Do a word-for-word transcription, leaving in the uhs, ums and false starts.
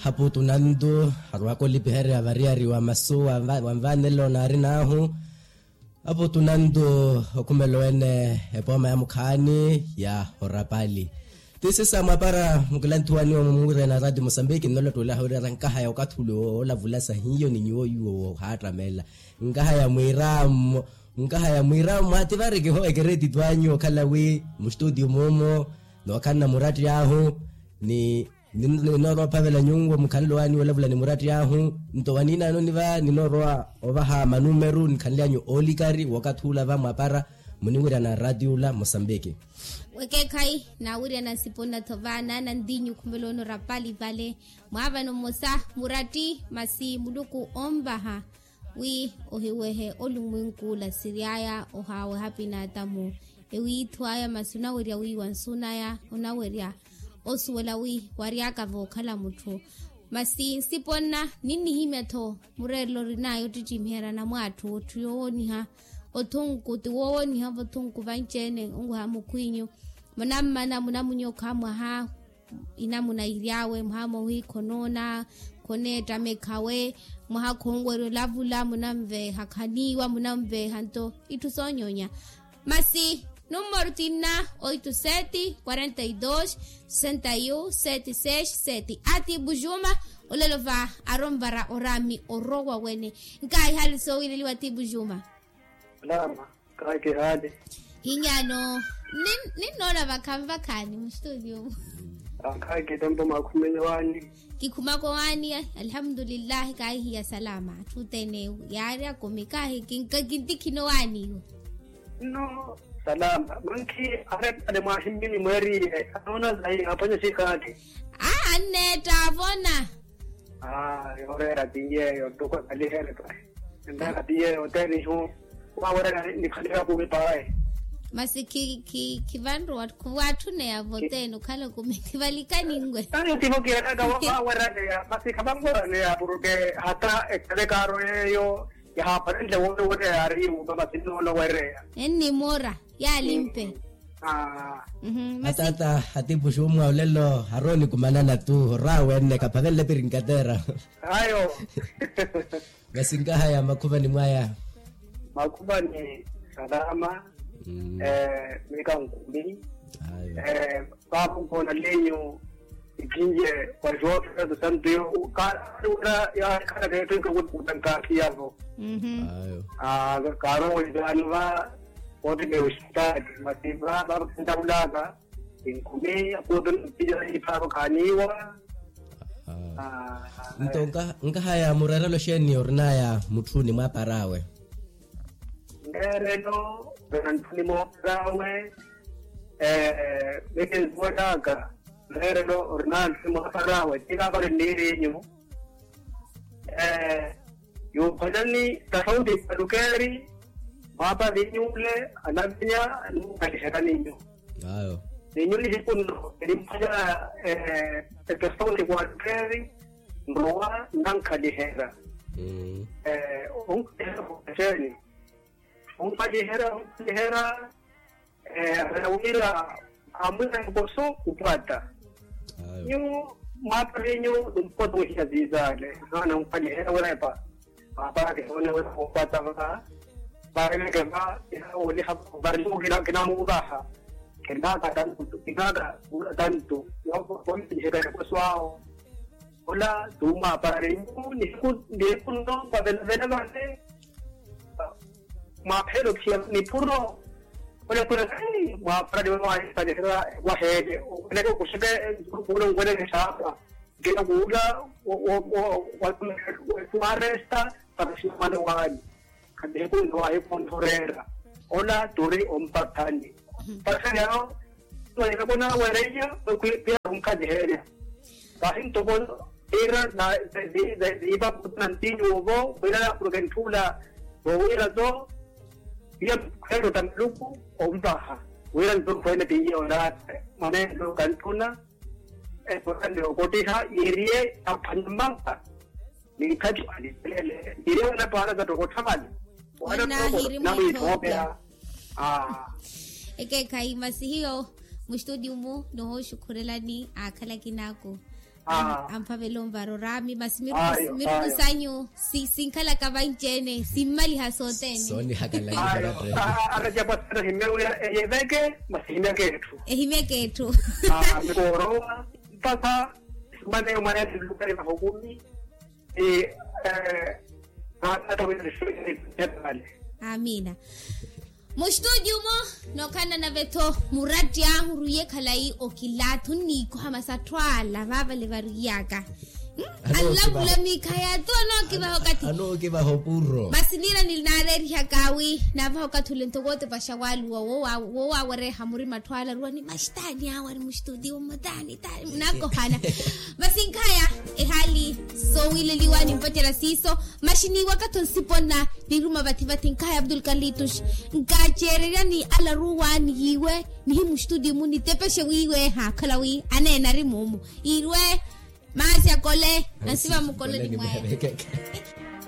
Aputu nantu arwaka olipiherya variyari wa masu wa nvanelo naari naahu. Aputu nantu okhumela wene epooma ya mukhaani ya orapali. Ti sisa mwapara mukilanthuwaniwa mumwirena rati mosambiki nnolottwela hawirira nkahaya okathi ule woolavula sahiyo ni nyuwo yuwo wohaattamela. Nkahaya mwirammo nkahaya mwirammo ati vari kihowa ekeretitwanyu okhala wi mustutio mumo nookhanna muratti ahu ni ninoorowa ophavela nyuwo mukhanle owaani wolavula ni muratti ahu. Nto waniinanoni va ninoorowa ovaha manumeru nikhanlyanyu oolikari wookathi ula va mwapara muniwirana rati ula mosambiki. Wekeekhayi naawirya na nsipo nnathova naana ntinyu khumela onorapali vale mwaavano mmosa muratti masi muluku onvaha wi ohiwehe olumwinkuula siryaya ohaaweha pinaatamu ewiithu aya masi onawerya wiiwa nsu naya onawerya osuwela wi waryaka vookhala mutthu. Masi nsipo nna ninnihimya-tho mureerelo orinaye ottittimiherya na mwatthu otthu yoowoniha othunku ti woowoniha vothunku vanci-ene onweha mukhwinyu munammana munamunyokha mwaha inamuna iry'awe mwaha mwawiikha onoona khoneettamekhawe mwaha khonwerya olavula munanveeha khaniiwa munanveeha nto itthu soonyoonya. Masi nummoro tinna oito sete quarenta e dois sessenta e um sete seis sete ati bujuma. Olelo va aronvara oraami orowa wene nkaahi hali soowileliwa ati bujuma. Salama. Kahi kihaali. Hinyano ninnoona vakhanvakhaani mustudio mu. Kahi kitempo mwakhumenya waani. Kikhumaka owaani alhamdulillahi kahihiya salama atthu othene yaari akumi kahi kintikhina owaani iwo. Nno salama mankhi arepale mwahimmini mweeriye anoona zayi aphwanya xikaati. Aa anneetta avona. Aa yooreera ti yeeyo ntuku ekaliherye pahi. Entaka ti yeeyo othene ihu wawerya nikhaliha kumi pahi. Masi khivanrowa khuwatthuneya vothene okhala kumi khivalikani nwe. Ayo tivo kiiraka waweryaneya masi khavanweryaneya porke hata ekalekaaro yeeyo yahaaparenle woonowerya yaari yuuma masi nnoona owereya. Ennimoora yaalimpe. Ataata atipuxu mwa olelo harooni kumanana tu oraawe enne kaphavenle pirinkatera. Ayo. Masi nkahaya makhuvani mwaya. Makhuvani salama. Miika nkumi. Ayo. Paapa nkoona lenyu ikinye wa jofe santu yo kaari wira yaari khala keethu enkakutikuta nkaasi yavo. Ayo. Kaari owezaani va kootteke oxitaati masi va vakhentavulaka inkumi akuutu nipija ipaavo khaaniiwa. Nto nkahaya mureerelo xeeni orinaya mutthuni mwaapar'awe? Nreerelo vena nthuni moopar'awe. Mikinsuwelaka nreerelo orinaya nthuni mwaapar'awe ti kaapari nniirinyu. Yuuphwanyani tafauti mwalukeeri mwaapari inyuule anavinya. Nunkaliherya ninyu. Ayo. Ninyu nihiku nno elimphwanya etafauti mwalukeeri nrowa nnankaliherya. Onkhaliherya okhwexeeni. Onkhaliherya onkhaliherya. Eera wira amwira nkoso khupwatta. Nyu mwaapari nyu numpotowihiya ziizaale. Naana onkhaliherya orepa. Mwaapari onewerya khupwatta va. Vareneke va. Ina wooniha vari nyu kinamuuvaha. Kinaaka tantu kinaaka tantu. Wampihiherya nkoso awo. Ola tuumwaapari nyu nihiku nno vavelavela vale. Mwaapheela okhiya nipuro. Ole khuna mwaapara ni wawaahipanihela waheele. Oneke okuxeke nturuku ole onweneke saapa. Nkina kuula. Waresta. Para ximana waani. Khanihikuntho wahikuntthureera. Ola turi ompathani. Mpathani awo. Wayekapona wereiya. Piya onkhaliherya. Pahi ntoko ira na ziipa kutu na ntinyu ovo wira nakhuluke ntthuula. Vowira to iya khweettota maluku ompaha wira nto khweene tiiye olaate. Mwaneene nto kantthuna. Eposa ni okottiha yiiriye aphwanya mmampa. Ni ikhathi alivelele yiiriye wala paara zattokottha vale. Wala namwiitthoopeya. Ekeekhayi masi hiyo muxtudiyu-mu nihooxukhurelani aakhala kinaako. Amphavela onvara oraami masi miruku sanyu sinkhalaka vanci-ene simmaliha sothene. Soonihakala. Atacapwa sana himewira eyeveke masi himyaka etthu. Ehimyaka etthu. Mikoorowa mpakha simana eyo mwaneene nlukari vahokumi. Aamiina. Mustudio-mo nookhalana nave-tho muratti ahu ruiye khalayi okilaathu nniikoha masi atthu ala vaavale variyaka. Anlavula miikha yathu anookivaha okathi. Anookivaha opuro masi niira ninaareerihaka wi naavaha okathi ole ntoko otepaxa waaluwa woowawereha murima atthu ala aruwa ni maxitaani awe ari mustudio mmutaani. Naakohana masi nkhaya ehaali soowileliwa nimpacerya siiso. Maxiniiwa katho nsiponna niruma vathi vathi nkhaya abdul kalitus. Nkaceererya ni alaruwa niyiiwe nihi mustudio-mu nitepexe wiiwe ehaakhala wi aneena ari muumu iirwe. Maasi akole nansiva mukole nimwaya.